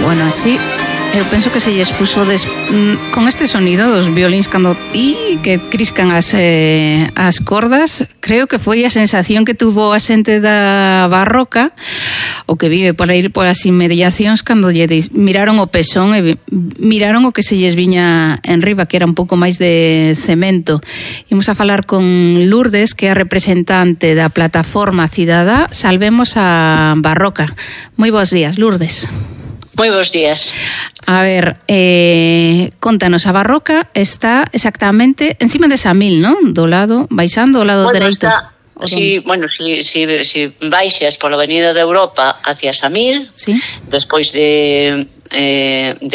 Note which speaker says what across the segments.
Speaker 1: Bueno, así eu penso que se lles puso con este sonido dos violíns cando que criscan as cordas. Creo que foi a sensación que tuvo a xente da Barroca, o que vive por aí por as inmediacións, cando lle miraron o pezón e miraron o que se lles viña en riba, que era un pouco máis de cemento. Imos a falar con Lourdes, que é a representante da plataforma cidadá Salvemos a Barroca. Moi bons días, Lourdes.
Speaker 2: Moi bons días.
Speaker 1: A ver, contanos, a Barroca está exactamente encima de Samil, non? Do lado, baixando ao lado dereito.
Speaker 2: Si baixas pola Avenida de Europa hacia Samil, sí. Despois de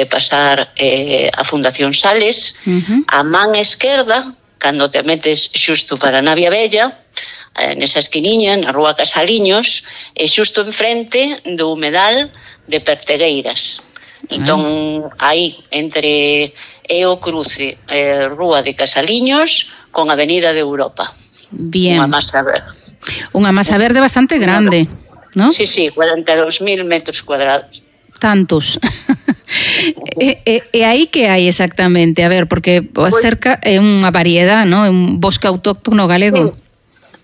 Speaker 2: pasar a Fundación Sales, a man esquerda, cando te metes xusto para Navia Bella, nesa esquiniña, na rúa Casaliños, e xusto enfrente do humedal de Pertegueiras. Entón, aí, entre o cruce rúa de Casaliños con Avenida de Europa.
Speaker 1: Bien.
Speaker 2: Unha masa verde.
Speaker 1: Unha masa verde bastante grande, non?
Speaker 2: Sí, 42.000 metros cuadrados.
Speaker 1: Tantos. E aí que hai exactamente? A ver, porque cerca é unha variedade, non? É un bosque autóctono galego.
Speaker 2: Sí.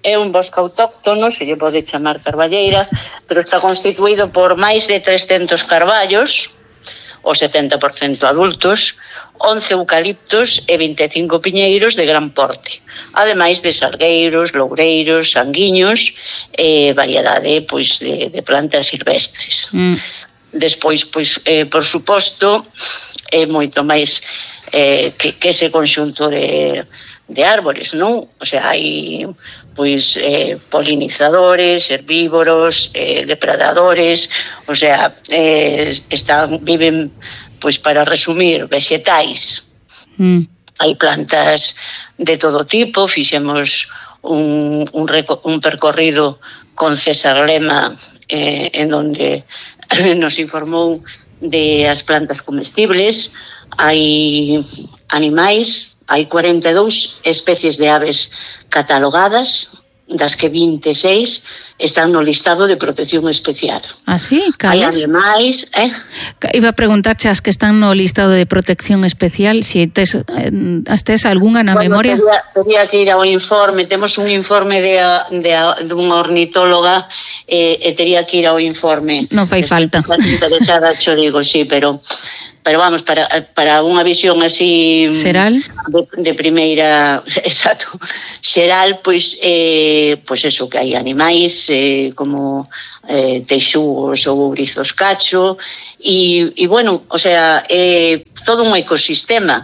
Speaker 2: É un bosque autóctono, se lle pode chamar carballeira, pero está constituído por máis de 300 carballos, o 70% adultos, 11 eucaliptos e 25 piñeiros de gran porte, ademais de salgueiros, loureiros, sanguiños e variedade de plantas silvestres. Despois, por suposto, é moito máis que ese conxunto de árbores, non? O sea, hai polinizadores, herbívoros, depredadores, o sea, viven, para resumir, vexetais. Hai plantas de todo tipo, fixemos un percorrido con César Lema en donde nos informou de as plantas comestibles. Hai animais, hai 42 especies de aves catalogadas, das que 26 están no listado de protección especial.
Speaker 1: Ah, sí? Cales?
Speaker 2: Hai animais...
Speaker 1: Iba a preguntarche as que están no listado de protección especial, se tes algunha na memoria?
Speaker 2: Tería que ir ao informe, temos un informe dunha ornitóloga e tería que ir ao informe.
Speaker 1: Non fai falta.
Speaker 2: Interesada, xo digo, sí, pero vamos, para unha visión así
Speaker 1: xeral
Speaker 2: de primeira, exacto, xeral, pois eso, que hai animais como teixugos ou ourizos cacho e bueno, o sea, todo un ecosistema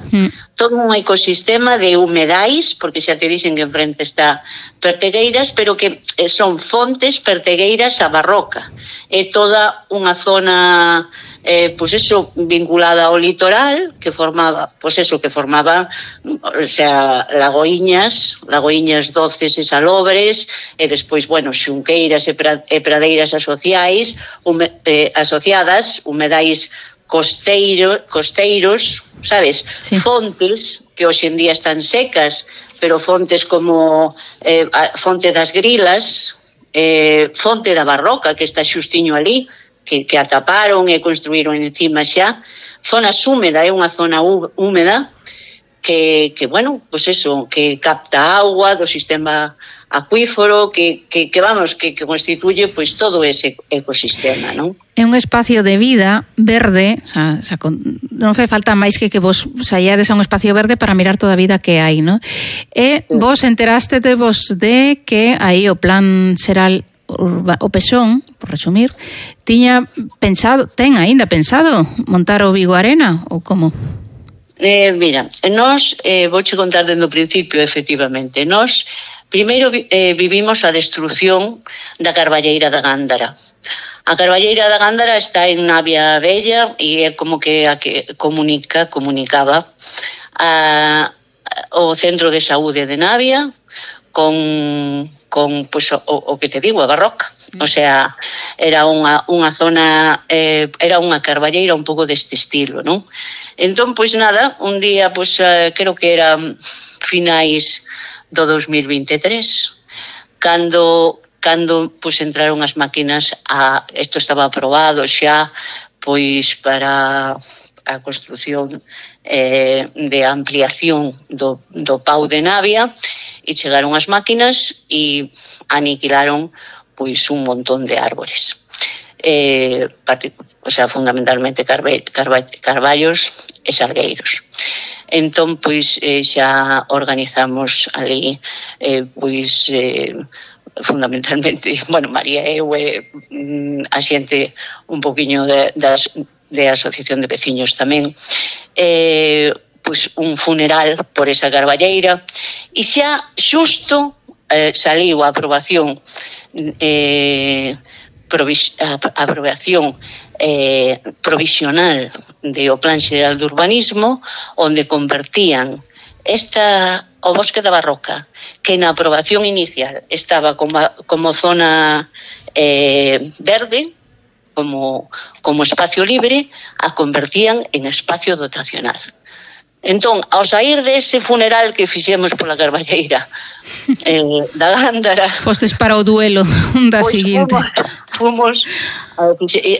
Speaker 2: de humedais, porque xa te dixen que enfrente está Pertegueiras, pero que son fontes pertegueiras a Barroca. É toda unha zona vinculada ao litoral, que formaba, o sea, lagoiñas doces e salobres, e despois, xunqueiras e pradeiras asociadas, humedais costeiros, sabes? Sí. Fontes que hoxe en día están secas, pero fontes como Fonte das Grilas, Fonte da Barroca, que está xustiño ali, que ataparon e construíron encima xa. Zona húmeda, é unha zona húmeda que capta auga do sistema acuífero, que constituye todo ese ecosistema, non?
Speaker 1: É un espacio de vida verde, non fai falta máis que vos saíades a un espacio verde para mirar toda a vida que hai, non? E vos enterastevos de que aí o plan xeral o Pezón, por resumir, ten aínda pensado montar o Vigo Arena ou como?
Speaker 2: Mira, nós, vouche contar dende o principio, efectivamente, nós primeiro vivimos a destrucción da Carballeira da Gándara. A Carballeira da Gándara está en Navia Bella e é como que a que comunicaba o centro de saúde de Navia con o que te digo, a Barroca. O sea, era unha zona, era unha carballeira un pouco deste estilo, non? Entón, un día, creo que era finais do 2023, cando entraron as máquinas, isto estaba aprobado xa pois para a construción de ampliación do Pau de Navia, e chegaron as máquinas e aniquilaron pois un montón de árbores. O sea, fundamentalmente carballos e salgueiros. Entón, pois, xa organizamos ali, pois, fundamentalmente, bueno, María e eu, a xente un poquinho de asociación de veciños tamén, pois un funeral por esa carballeira, e xa xusto saliu a aprobación provisional do Plan Xeral de Urbanismo, onde convertían o Bosque da Barroca, que na aprobación inicial estaba como zona verde, como espacio libre, a convertían en espacio dotacional. Entón, ao sair dese funeral que fixemos pola carballeira da Gándara,
Speaker 1: fostes para o duelo da seguinte.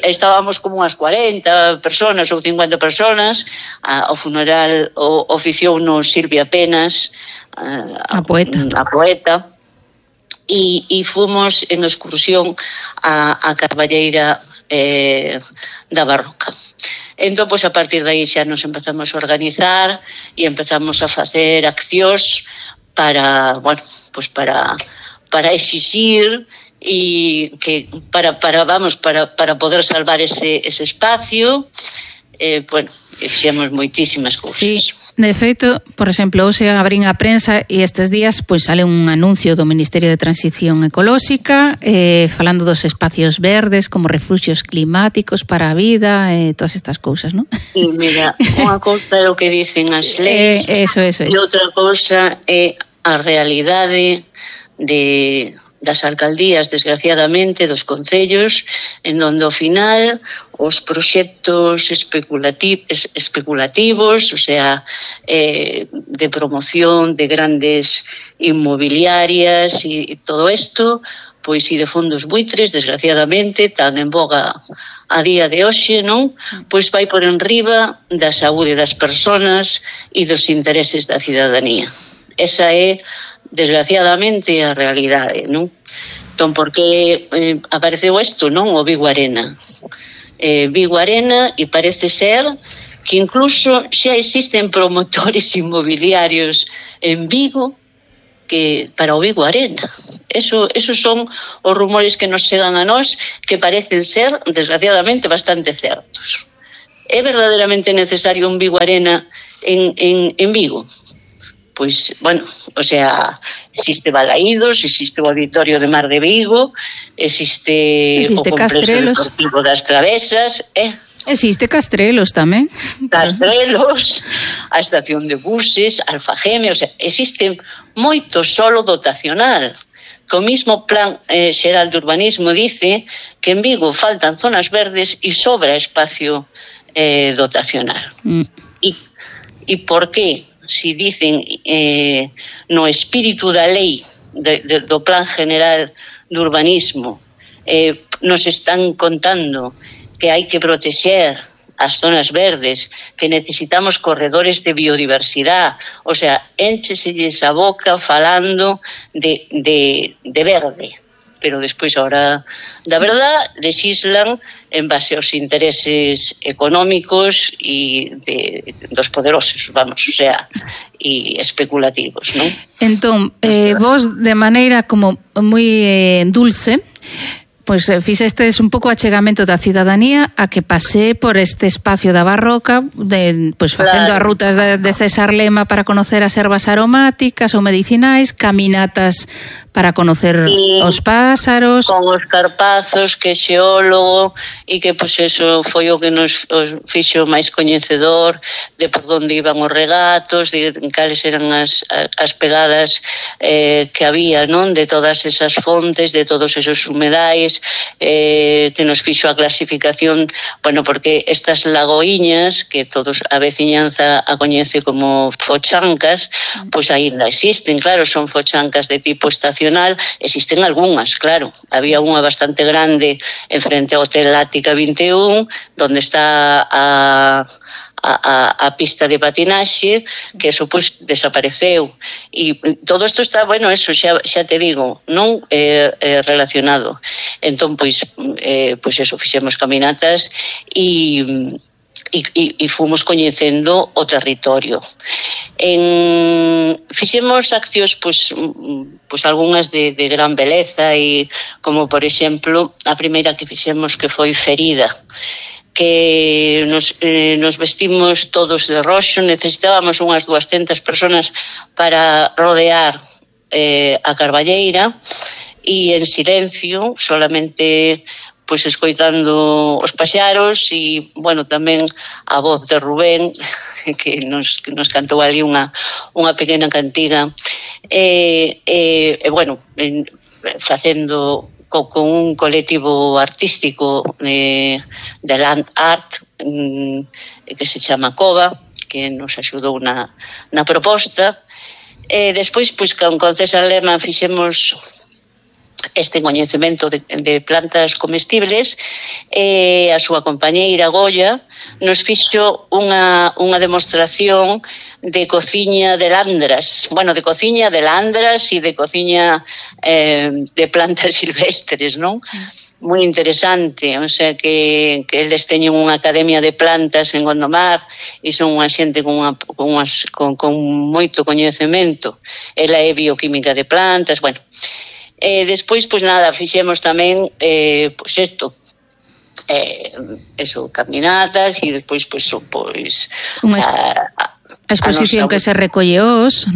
Speaker 2: Estábamos como unhas 40 personas ou 50 personas. O funeral oficiounos Silvia Penas, a poeta, e fomos en excursión a carballeira da Barroca. Entón, pois, a partir de aí xa nos empezamos a organizar e empezamos a facer accións para exixir e que para poder salvar ese espacio. Bueno, fixemos moitísimas cousas.
Speaker 1: Sí, de feito, por exemplo, hoxe abrín a prensa e estes días pois sale un anuncio do Ministerio de Transición Ecolóxica falando dos espacios verdes como refuxios climáticos para a vida e todas estas cousas, non?
Speaker 2: Sí, mira, unha cousa é o que dicen as leis
Speaker 1: eso.
Speaker 2: E outra cousa é a realidade das alcaldías, desgraciadamente, dos concellos, en donde ao final os proxectos especulativos, o sea, de promoción de grandes inmobiliarias e todo isto, pois e de fondos buitres, desgraciadamente, tan en boga a día de hoxe, non? Pois vai por enriba da saúde das persoas e dos intereses da cidadanía. Esa é, desgraciadamente, a realidade, non? Entón, por que apareceu isto, non? O Vigo Arena. Vigo Arena, e parece ser que incluso xa existen promotores inmobiliarios en Vigo que para o Vigo Arena. Esos son os rumores que nos chegan a nós, que parecen ser, desgraciadamente, bastante certos. É verdadeiramente necesario un Vigo Arena en Vigo? Pois, bueno, o sea, existe Balaídos, existe o Auditorio de Mar de Vigo, existe o Complexo Deportivo das Travesas,
Speaker 1: existe Castrelos tamén.
Speaker 2: Castrelos, a estación de buses, Alfageme, o sea, existe moito solo dotacional. Que o mismo Plan Xeral de Urbanismo dice que en Vigo faltan zonas verdes e sobra espacio dotacional. E por que? Si dicen no espírito da lei do Plan General de Urbanismo nos están contando que hai que protexer as zonas verdes, que necesitamos corredores de biodiversidade, o sea, éncheselles a boca falando de verde, pero despois, ahora, da verdad, lexislan en base aos intereses económicos e dos poderosos, vamos, o sea, e especulativos, non?
Speaker 1: Entón, vos, de maneira como moi dulce, pois fixestes un pouco achegamento da cidadanía a que pasé por este espacio da Barroca, pois facendo as rutas de César Lema para conocer as ervas aromáticas ou medicinais, caminatas para conocer os pásaros,
Speaker 2: con os carpazos, que xeólogo, e que pois eso foi o que nos fixo máis coñecedor de por onde iban os regatos, de cales eran as pegadas que había, non, de todas esas fontes, de todos esos humedais, que nos fixo a clasificación, bueno, porque estas lagoiñas, que todos a veciñanza a coñece como fochancas, pois aínda existen, claro, son fochancas de tipo estacional, existen algunhas, claro, había unha bastante grande en frente ao Hotel Ática 21, donde está a pista de patinaxe, que eso pois desapareceu, e todo isto está, bueno, eso xa te digo, non relacionado. Entón, pois eso, fixemos caminatas e fomos coñecendo o territorio. Fixemos accións, pois algunhas de gran beleza, e como, por exemplo, a primeira que fixemos, que foi Ferida, que nos vestimos todos de roxo, necesitábamos unhas 200 personas para rodear a Carballeira, e en silencio, solamente pois escoitando os paxaros, e, bueno, tamén a voz de Rubén, que nos cantou ali unha pequena cantiga, bueno, facendo con un colectivo artístico de Land Art que se chama Cova, que nos axudou na proposta. Despois, pois, con César Lema fixemos este coñecemento de plantas comestibles, e a súa compañeira Goya nos fixo unha demostración de cociña de landras, bueno, de cociña de landras e de cociña de plantas silvestres, non? Moi interesante, o sea que eles teñen unha academia de plantas en Gondomar e son unha xente con moito coñecemento. Ela é bioquímica de plantas, bueno. Despois, pois nada, fixemos tamén, pois isto, caminatas, e despois, pois
Speaker 1: a exposición que se recolle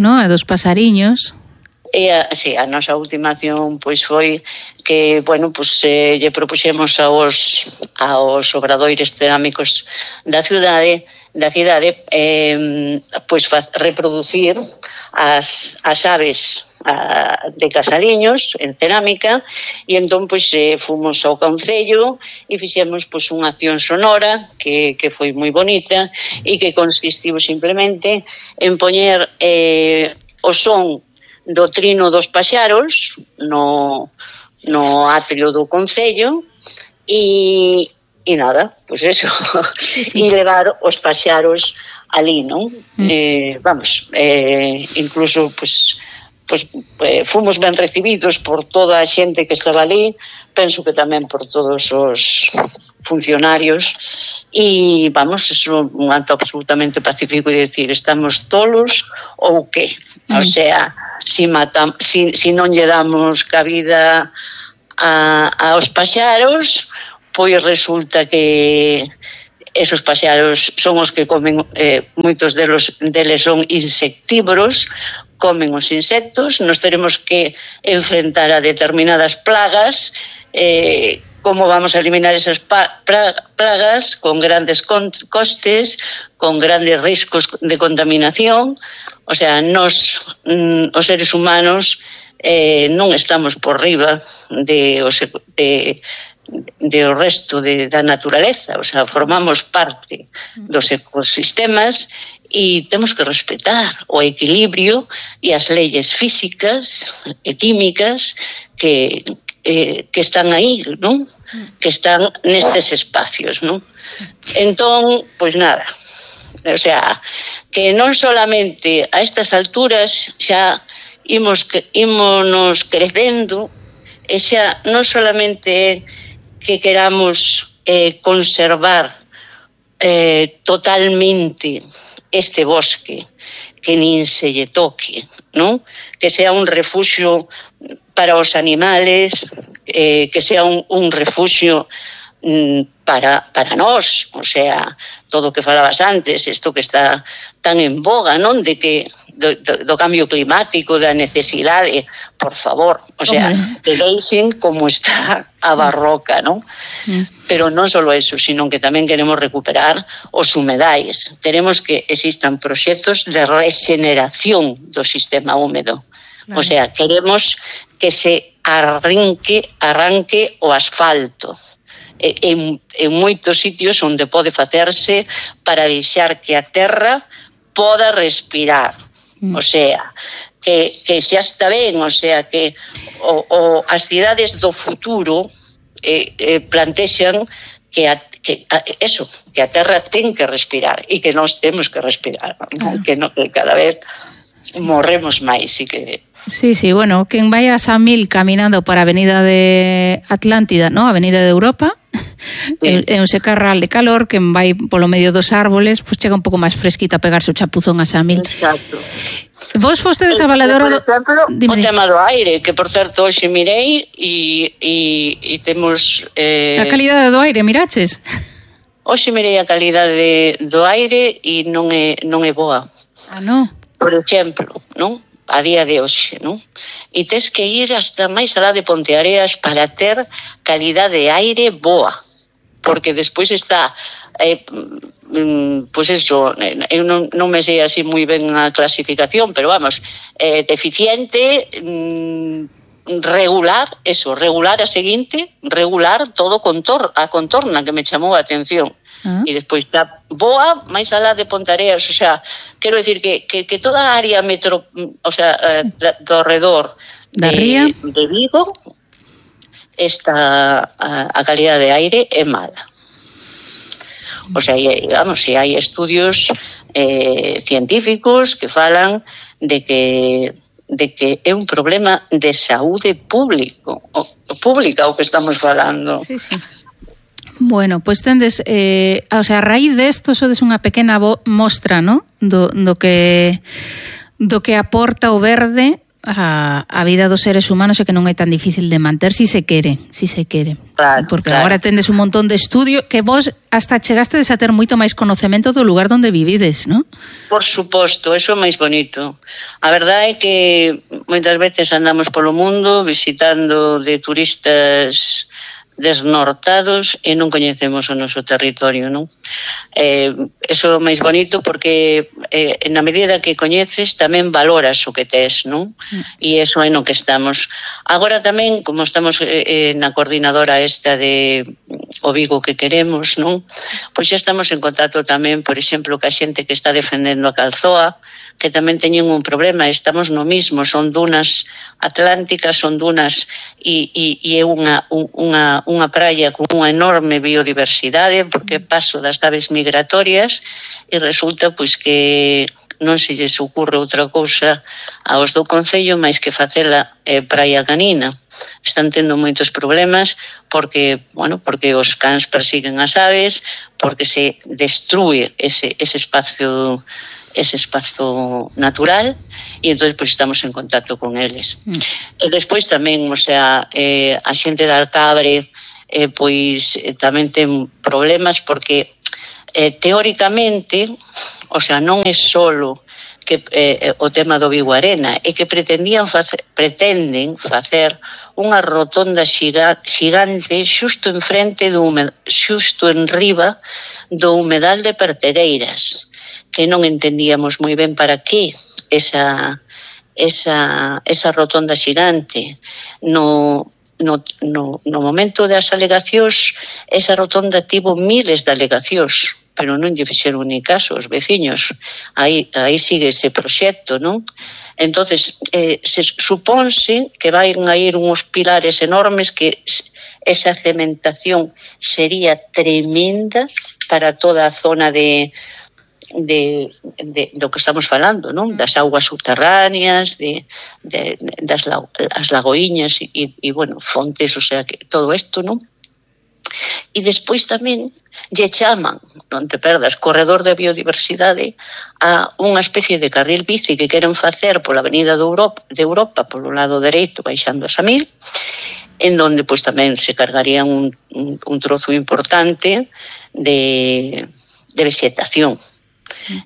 Speaker 1: non? A dos pasariños.
Speaker 2: Sí, a nosa última acción pois foi que, bueno, pois lle propuxemos aos obradoires cerámicos da cidade pois reproducir as aves de Casaliños en cerámica, e entón pois fomos ao concello e fixemos pois unha acción sonora que foi moi bonita, e que consistiu simplemente en poñer o son do trino dos paxaros no atrio do concello, e nada, pois eso, e levar os paxaros ali, non? Incluso pois fomos ben recibidos por toda a xente que estaba ali, penso que tamén por todos os funcionarios, e eso un acto absolutamente pacífico, e decir, estamos tolos ou que? O sea, si non lle damos cabida aos paxaros, pois resulta que esos paxaros son os que comen, moitos deles son insectívoros, comen os insectos, nos teremos que enfrentar a determinadas plagas. Como vamos a eliminar esas plagas? Con grandes costes, con grandes riscos de contaminación. O sea, os seres humanos non estamos por riba do resto da naturaleza, o sea, formamos parte dos ecosistemas, e temos que respetar o equilibrio e as leyes físicas e químicas que están aí, non? Que están nestes espacios, non? Entón, pois nada, o sea, que non solamente a estas alturas xa ímonos crecendo, e xa non solamente que queramos conservar totalmente este bosque, que nin se lle toque, non? Que sea un refuxio para os animales, que sea un refuxio para nós, o sea, todo o que falabas antes, isto que está tan en boga, non? De que do cambio climático, da necesidade, por favor, o sea, que deixen como está a barroca, non? Pero non só eso, sino que tamén queremos recuperar os humedais. Queremos que existan proxectos de regeneración do sistema húmedo. Claro. O sea, queremos que se arranque o asfalto en moitos sitios onde pode facerse para deixar que a terra poda respirar. O sea, que xa está ben, o sea, que as cidades do futuro plantexan que a terra ten que respirar e que nós temos que respirar, claro. Que cada vez morremos máis e que...
Speaker 1: Sí, bueno, quen vai a Samil caminando para a avenida de Atlántida, ¿no? Avenida de Europa, sí. É un secarral de calor, quen vai polo medio dos árboles, pues chega un pouco máis fresquita a pegarse o chapuzón a Samil.
Speaker 2: Exacto.
Speaker 1: Vos fostedes a valedora
Speaker 2: do... Por exemplo, o tema do aire, que por certo hoxe mirei e temos...
Speaker 1: A calidade do aire, miraches?
Speaker 2: Hoxe mirei a calidade do aire e non é boa.
Speaker 1: Ah, non?
Speaker 2: Por exemplo, non? A día de hoxe, non? E tes que ir hasta máis alá de Ponteareas para ter calidade de aire boa, porque despois está pois eso, eu non me sei así moi ben a clasificación, pero vamos, deficiente, regular a seguinte, regular todo a contorna, que me chamou a atención. E despois está boa máis alá de Ponteareas, o sea, quero decir que toda a área o sea, do redor de Vigo está a calidade de aire é mala. O sea, vamos, se hai estudios científicos que falan de que é un problema de saúde pública o que estamos falando.
Speaker 1: Sí. Bueno, pois tendes, o sea, a raíz desto sodes unha pequena mostra, ¿no? Do que aporta o verde a vida dos seres humanos e que non é tan difícil de manter si se quere. Claro, porque agora tendes un montón de estudio que vos hasta chegastes a ter moito máis conocemento do lugar onde vivides, ¿no?
Speaker 2: Por suposto, eso é máis bonito. A verdade é que moitas veces andamos polo mundo visitando de turistas desnortados e non coñecemos o noso territorio, non? Eso é máis bonito porque na medida que coñeces tamén valoras o que tes, non? E eso é no que estamos. Agora tamén, como estamos na coordinadora esta de o Vigo que queremos, non? Pois xa estamos en contacto tamén, por exemplo, ca xente que está defendendo a Calzoa, que tamén teñen un problema, estamos no mismo, son dunas atlánticas, son dunas e é unha praia con unha enorme biodiversidade, porque paso das aves migratorias e resulta pois que non se lles ocurre outra cousa aos do Concello máis que facela praia canina. Están tendo moitos problemas porque os cans persiguen as aves, porque se destrúe ese espazo natural e entón pois estamos en contacto con eles. E despois tamén, o sea, a xente de Alcabre pois tamén ten problemas porque teóricamente, o sea, non é solo que o tema do Vigo Arena, é que pretenden facer unha rotonda xigante xusto enriba do humedal de Pertegueiras, que non entendíamos moi ben para que esa rotonda xigante. No momento das alegacións, esa rotonda tivo miles de alegacións, pero non lle fixeron ni caso aos veciños. Aí sigue ese proxecto, non? Entonces, se supónse que van a ir uns pilares enormes que esa cementación sería tremenda para toda a zona do que estamos falando, non? Das augas subterráneas, das lagoiñas e bueno, fontes, o sea, que todo isto, non? E despois tamén lle chaman, non te perdas, corredor de biodiversidade a unha especie de carril bici que queren facer pola avenida de Europa polo lado dereito, baixando a Samil, en donde pois tamén se cargarían un trozo importante de vegetación.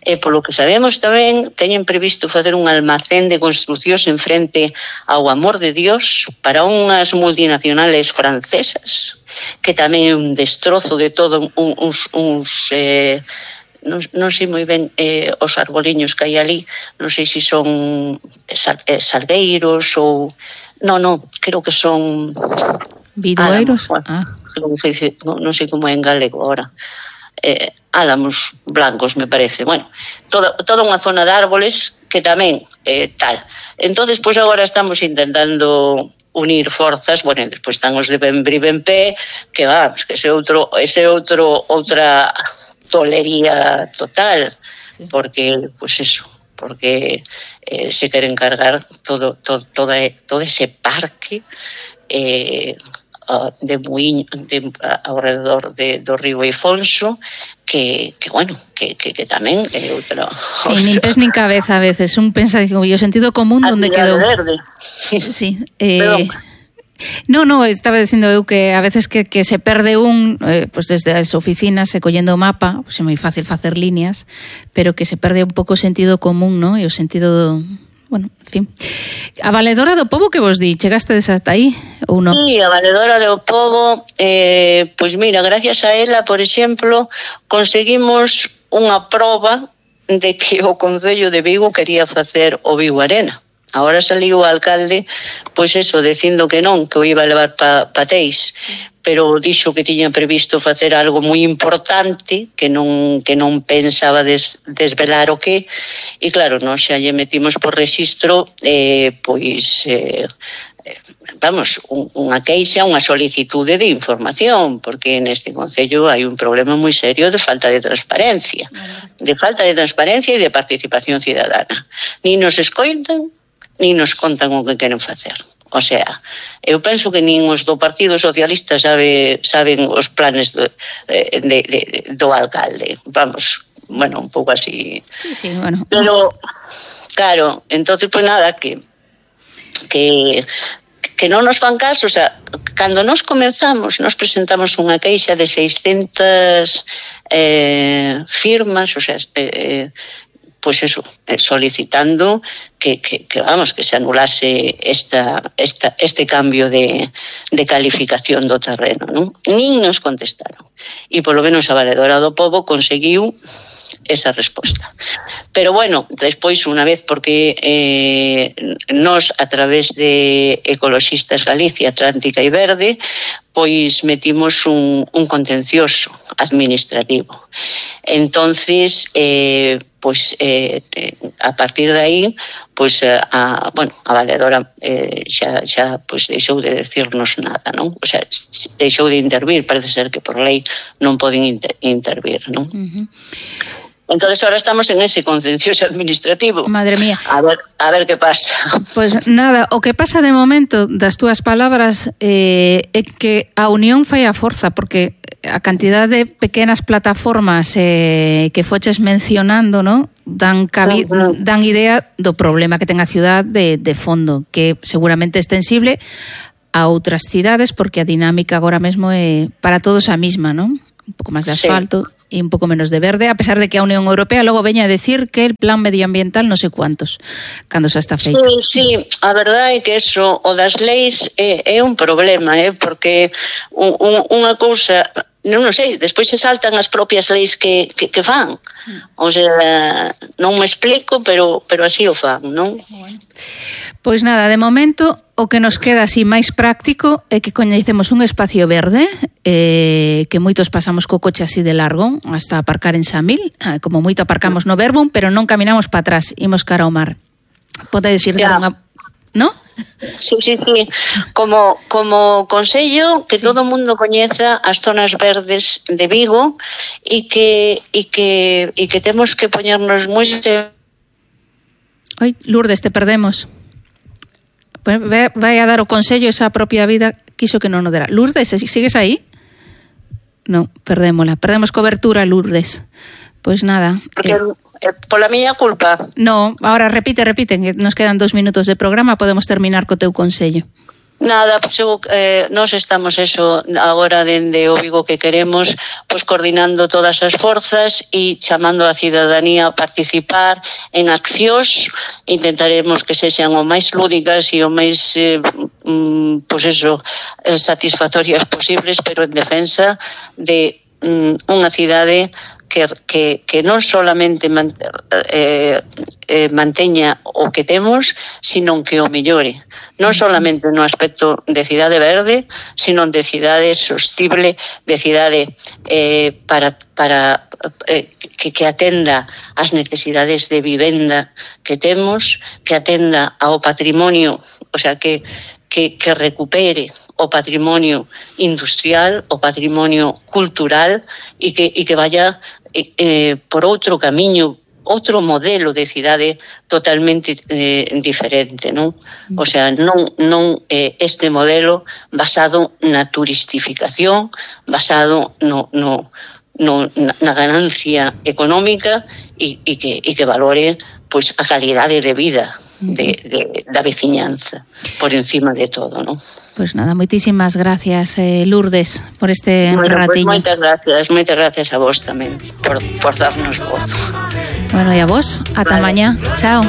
Speaker 2: E polo que sabemos tamén teñen previsto facer un almacén de construcións en frente ao Amor de Dios para unhas multinacionales francesas, que tamén é un destrozo de todo uns non sei moi ben os arboliños que hai ali, non sei se son salgueiros ou... Non, creo que son...
Speaker 1: Bidueiros?
Speaker 2: Non sei como é en galego agora. Álamos blancos, me parece. Bueno, toda unha zona de árboles que tamén tal. Entonces, pois agora estamos intentando unir forzas, bueno, despois están os de Benbribempé, que vamos, que ese outra tolería total, sí. Porque, pues eso, porque se queren cargar todo ese parque de Muiño, alrededor do río Eifonso, que bueno, que tamén é outra...
Speaker 1: Sí, nin pés nin cabeza a veces, un pensa, digo, o sentido común onde quedou.
Speaker 2: Verde.
Speaker 1: Sí, No, estaba dicindo eu que a veces que se perde pues desde as oficinas e collendo o mapa, pues é moi fácil facer líneas, pero que se perde un pouco o sentido común, ¿no? E o sentido... Bueno, en fin. A Valedora do Pobo que vos di, chegastes hasta aí ou non?
Speaker 2: Sí, a Valedora do Pobo, pois mira, gracias a ela, por exemplo, conseguimos unha proba de que o Concello de Vigo quería facer o Vigo Arena. Agora saliu o alcalde, pois eso, dicindo que non, que o iba a levar pa Teis, pero dixo que tiña previsto facer algo moi importante, que non pensaba desvelar o que, e claro, nós xa lle metimos por rexistro, vamos, unha queixa, unha solicitude de información, porque neste concello hai un problema moi serio de falta de transparencia e de participación cidadana. Ni nos escoitan, ni nos contan o que queren facer. O sea, eu penso que nin os do Partido Socialista saben os planes do alcalde. Vamos, bueno, un pouco así.
Speaker 1: Sí, bueno.
Speaker 2: Pero, claro, entonces, pues nada, que non nos fan caso. O sea, cando nos comenzamos, nos presentamos unha queixa de 600 firmas, o sea, pues eso, solicitando que se anulase este cambio de calificación do terreno, non? Nin nos contestaron. E polo menos a Valedora do Pobo conseguiu esa resposta. Pero bueno, despois unha vez, porque nos a través de Ecoloxistas Galicia, Atlántica e Verde, pois metimos un contencioso administrativo. Entonces, a partir de aí, pois a Valedora xa pois deixou de decirnos nada, non? O sea, deixou de intervir, parece ser que por lei non poden intervir, non? Entonces ahora estamos en ese contencioso administrativo.
Speaker 1: Madre mía.
Speaker 2: A ver que pasa.
Speaker 1: Pues nada, o que pasa de momento das túas palabras é que a unión fai a forza, porque a cantidad de pequenas plataformas que foches mencionando, ¿no? Dan idea do problema que ten a ciudad de fondo, que seguramente é extensible a outras cidades, porque a dinámica agora mesmo é para todos a mesma, ¿no? Un pouco máis de asfalto, sí, e un pouco menos de verde, a pesar de que a Unión Europea logo veña a decir que el plan medioambiental non sei cuántos, cando xa está feito.
Speaker 2: Sí, a verdade é que eso, o das leis é un problema, porque unha cousa, non sei, despois se saltan as propias leis que fan. O sea, non me explico, pero así o fan, non?
Speaker 1: Pois nada, de momento o que nos queda así máis práctico é que coñecemos un espacio verde, que moitos pasamos co coche así de largo hasta aparcar en Samil, como moito aparcamos no Verbum, pero non caminamos para atrás, imos cara ao mar. Podes ir dar unha... ¿No?
Speaker 2: Sí. Como consello que sí, todo o mundo coñeza as zonas verdes de Vigo e que temos que poñernos moi...
Speaker 1: Oi, Lourdes, te perdemos. Vai a dar o consello esa propia vida, quiso que non o dera. Lourdes, sigues aí? Non, perdémola. Perdemos cobertura, Lourdes. Pois nada.
Speaker 2: Porque pola miña culpa.
Speaker 1: No, ahora repite, que nos quedan 2 minutos de programa, podemos terminar co teu consello.
Speaker 2: Nada, pois nós estamos eso agora dende o Vigo que queremos, pois coordinando todas as forzas e chamando a cidadanía a participar en accións. Intentaremos que sexan o máis lúdicas e o máis pois eso, satisfactorias posibles, pero en defensa de unha cidade que non solamente manteña o que temos, sino que o mellore. Non solamente no aspecto de cidade verde, sino de cidade sostible, de cidade para que atenda as necesidades de vivenda que temos, que atenda ao patrimonio, o sea, que recupere o patrimonio industrial, o patrimonio cultural e que vaya por outro camiño, outro modelo de cidade totalmente diferente, non? O sea, non este modelo basado na turistificación, basado na ganancia económica e que valore pois a calidade de vida da veciñanza por encima de todo, ¿no?
Speaker 1: Pues nada, moitísimas gracias, Lourdes, por este ratiño.
Speaker 2: Pues moitas gracias a vos tamén por darnos voz.
Speaker 1: Bueno, e a vos, ata mañá. Chao.